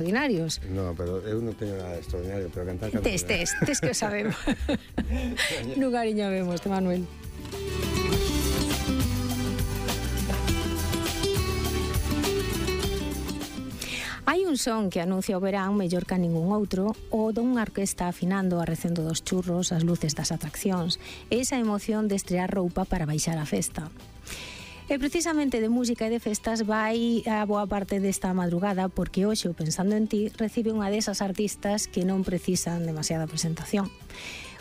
extraordinarios. No, pero eu non teño nada extraordinario, pero cantar Tes que o sabemos. Non cariñabemos, Manuel. Hai un son que anuncia o verán mellor que a ningún outro, o dunha orquesta afinando a recendo dos churros, as luces das atraccións, e esa emoción de estrear roupa para baixar a festa. E precisamente de música e de festas vai a boa parte desta madrugada, porque hoxe o Pensando en Ti recibe unha desas artistas que non precisan demasiada presentación.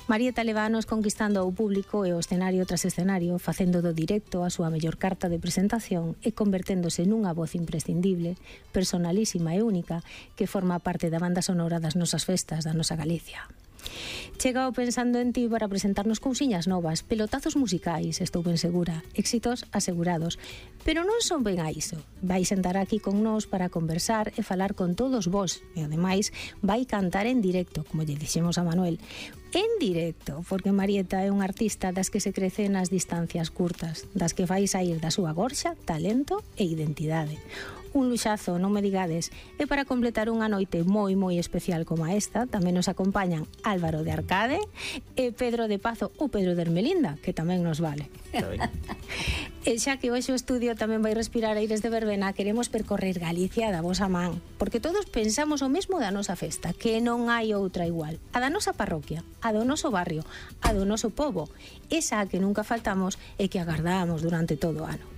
Marieta levanos conquistando ao público e o escenario tras escenario, facendo do directo a súa mellor carta de presentación e converténdose nunha voz imprescindible, personalísima e única, que forma parte da banda sonora das nosas festas da nosa Galicia. Chega o Pensando en Ti para presentarnos cousiñas novas, pelotazos musicais, estou ben segura, éxitos asegurados. Pero non son ben a iso. Vai sentar aquí con nós para conversar e falar con todos vós. E ademais vai cantar en directo, como lle dixemos a Manuel. En directo, porque Marieta é unha artista das que se crece nas distancias curtas, das que fai sair da súa gorxa, talento e identidade. Un luxazo, non me digades. E para completar unha noite moi especial como esta, tamén nos acompañan Álvaro de Arcade e Pedro de Pazo ou Pedro de Ermelinda, que tamén nos vale. E xa que hoxe o estudio tamén vai respirar aires de verbena, queremos percorrer Galicia da vosa man, porque todos pensamos o mesmo da nosa festa, que non hai outra igual. A da nosa parroquia, a do noso barrio, a do noso pobo, esa a que nunca faltamos e que agardamos durante todo o ano.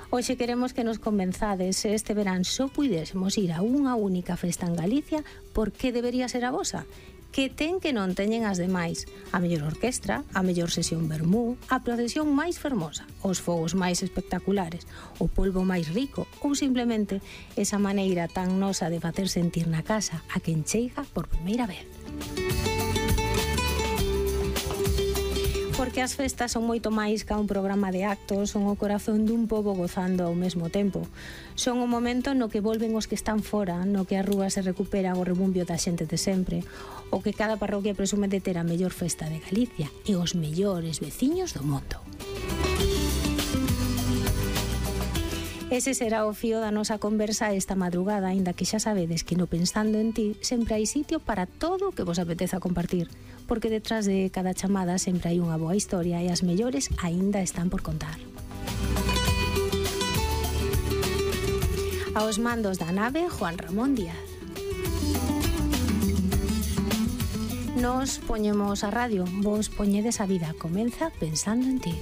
Hoxe queremos que nos convenzades se este verán só puidésemos ir a unha única festa en Galicia, por que debería ser a vosa? Que ten que non teñen as demais? A mellor orquestra, a mellor sesión vermú, a procesión máis fermosa, os fogos máis espectaculares, o polvo máis rico ou simplemente esa maneira tan nosa de facer sentir na casa a quen chega por primeira vez. Porque as festas son moito máis que un programa de actos, son o corazón dun pobo gozando ao mesmo tempo. Son o momento no que volven os que están fora, no que a rúa se recupera o rebumbio da xente de sempre, o que cada parroquia presume de ter a mellor festa de Galicia e os mellores veciños do mundo. Ese será o fío da nosa conversa esta madrugada, aínda que xa sabedes que no Pensando en Ti sempre hai sitio para todo o que vos apeteza compartir, porque detrás de cada chamada sempre hai unha boa historia e as mellores aínda están por contar. Aos mandos da nave, Juan Ramón Díaz. Nos poñemos a radio, vos poñedes a vida, comeza Pensando en Ti.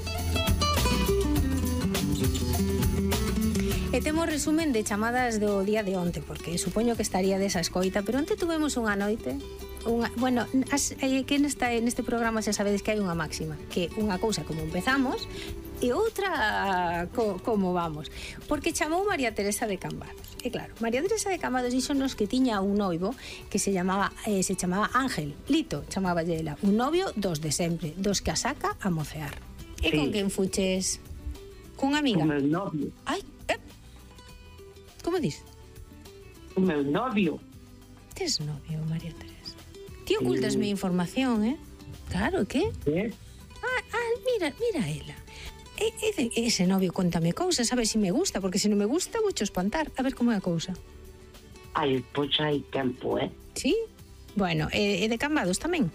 E temos resumen de chamadas do día de onte, porque supoño que estaría desa escoita, pero onte tuvemos unha noite, que neste programa xa sabedes que hai unha máxima, que unha cousa como empezamos e outra como vamos, porque chamou María Teresa de Cambados. E claro, María Teresa de Cambados díxonos que tiña un noivo que se chamaba Ángel, Lito, chamaba ela, un novio dos de sempre, dos que a saca a mocear. E con quen fuches? Cunha amiga? Con meu novio. Ai, como dis? O meu novio. Tes novio, María Teresa? Ti ocultas mi información, Claro, que? Mira ela. Ese novio contame cousas, a ver se me gusta, porque se non me gusta vou cho espantar. A ver como é a cousa. Ai, pois hai tempo, Sí? Bueno, e de Cambados tamén?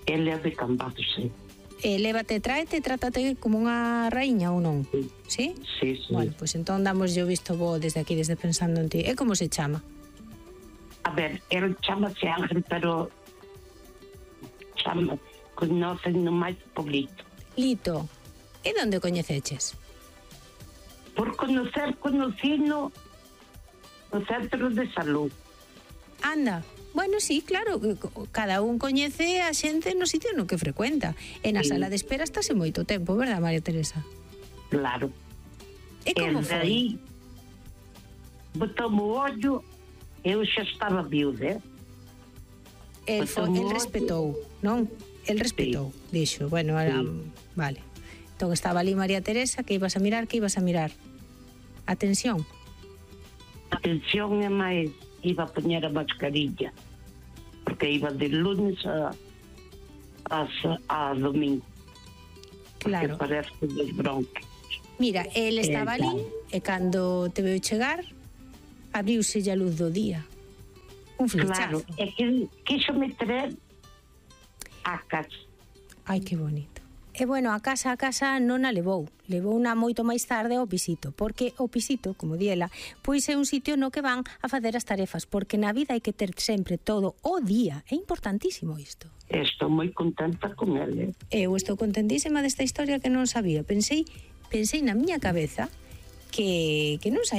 Ele é de Cambados, sí. Lévate, tráete, trátate como unha raíña ou non? Sí. Sí? Sí. Bueno, pois entón damos yo visto bo desde aquí, desde Pensando en Ti. E como se chama? A ver, ele chamase Ángel, pero conocen no máis por Lito. Lito. E onde coñeceches? Por conocino no centro de salud. Anda. Bueno, sí, claro, cada un coñece a xente no sitio no que frecuenta. E na sala de espera estáse moito tempo, verdad, María Teresa? Claro. E como foi? Aí botou-me o ollo, eu xa estaba viuda, El respetou, non? El respetou, dixo, bueno, ahora, vale. Entón estaba ali María Teresa, que ibas a mirar? Atención. Atención é máis, iba a poñer a mascarilla, porque iba de lunes a domingo. Claro. Porque parece que dos bronquios. Mira, el estaba ali e cando te veu chegar abriuse a luz do día. Un flechazo. Claro, é que quiso me traer a casa. Ai, que bonito. E bueno, a casa non a levou na moito máis tarde ao pisito, porque o pisito, como diela, pois é un sitio no que van a facer as tarefas, porque na vida hai que ter sempre todo o día, é importantísimo isto. Estou moi contenta con ele. Eu estou contentísima desta historia que non sabía, pensei na miña cabeza que non sabía